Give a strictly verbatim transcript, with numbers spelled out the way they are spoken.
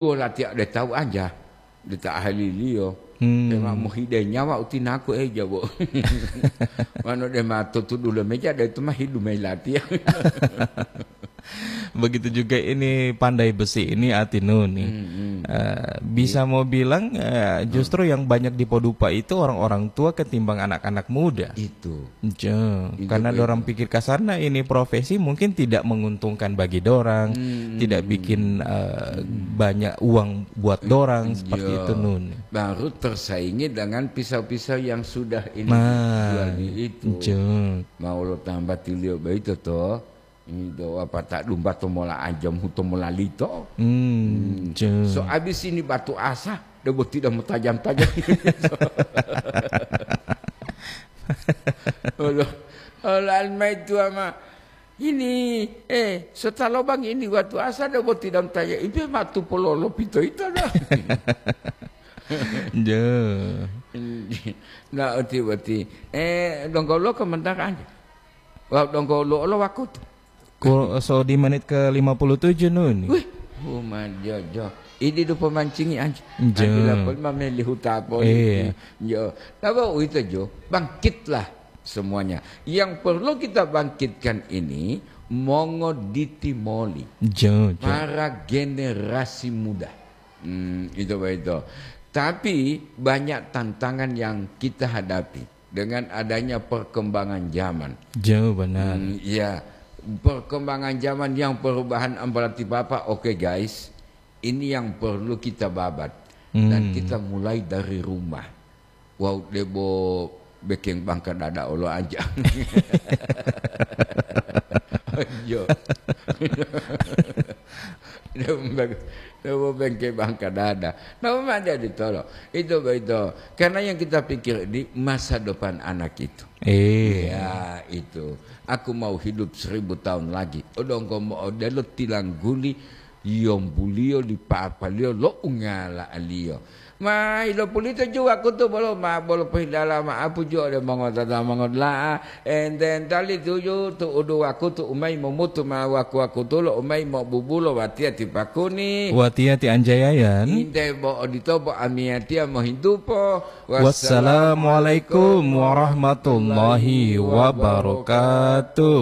Wo latiya ode tawu anja, de ta ahaliliyo. Hmm. Dema mohide nyawa utinaku eja, bo. Wano dema totudu lo meja, de itu mah hidu mayi latiya. Begitu juga ini pandai besi ini Atinun nih. Hmm, hmm. Eh, bisa mau bilang, eh, justru yang banyak dipodupa itu orang-orang tua ketimbang anak-anak muda. Itu. Jo, itu karena betul. Dorang pikir kasarnya ini profesi mungkin tidak menguntungkan bagi dorang, hmm, tidak bikin, eh, banyak uang buat dorang, seperti itu, Nun. Baru tersaingi dengan pisau-pisau yang sudah ini dijual di itu. Jo. Mau lo tambah tilio begitu toh. Ini do apa tak dumba to mola ajam, huto mola lito. Hmm, jo. So abis ini batu asa, debo tidak mau tajam-tajam. Olo, olo almai tua ma. Ini, eh, sota lobang ini watu asa debo tidak mau tajam. Ipe matu pololo pito ito dah. Jo. Nah, oti-oti. Eh, donggo lo komentar aja. Wau donggo lo olo wakutu. Ko, so di menit ke lima puluh tujuh nun. Wih, uma jojo. Idi du pemancingi anji. Jo. Anji lapol mameli huta poli. Iya. Jo. Napa uwito jo? Bangkitlah semuanya. Yang perlu kita bangkitkan ini mongoditi moli. Jo, jo. Para generasi muda. Hmm, itu begitu. Tapi banyak tantangan yang kita hadapi dengan adanya perkembangan zaman. Jo, benar. Hmm, ya, perkembangan zaman yang perubahan ambalati Bapak, oke guys, ini yang perlu kita babat. Dan kita mulai dari rumah. Wau debo bekeng bangka dada olo aja. Jo. Debo bek-, debo bengke bangka dada. Nama ma dia ditolo? Itu begitu. Karena yang kita pikir di masa depan anak itu. Iya. Ya, itu. Aku mau hidup seribu tahun lagi. Odonggo mo odelo tilangguli yombuliyo li papaliyo lo ungala'aliyo. Ma ilopulito ju wakutu bolo ma bolo pohidala ma'apu ju ode mongotata mongodula'a, enten tali tuju tu'udu wakutu umai momutu ma waku-wakutulo umai mobubulo watiya ti pakuni. Watiya ti Anjayayan. Inte bo odito bo amiyatiya mohintupo. Wassalamualaikum warahmatullahi wabarakatuh.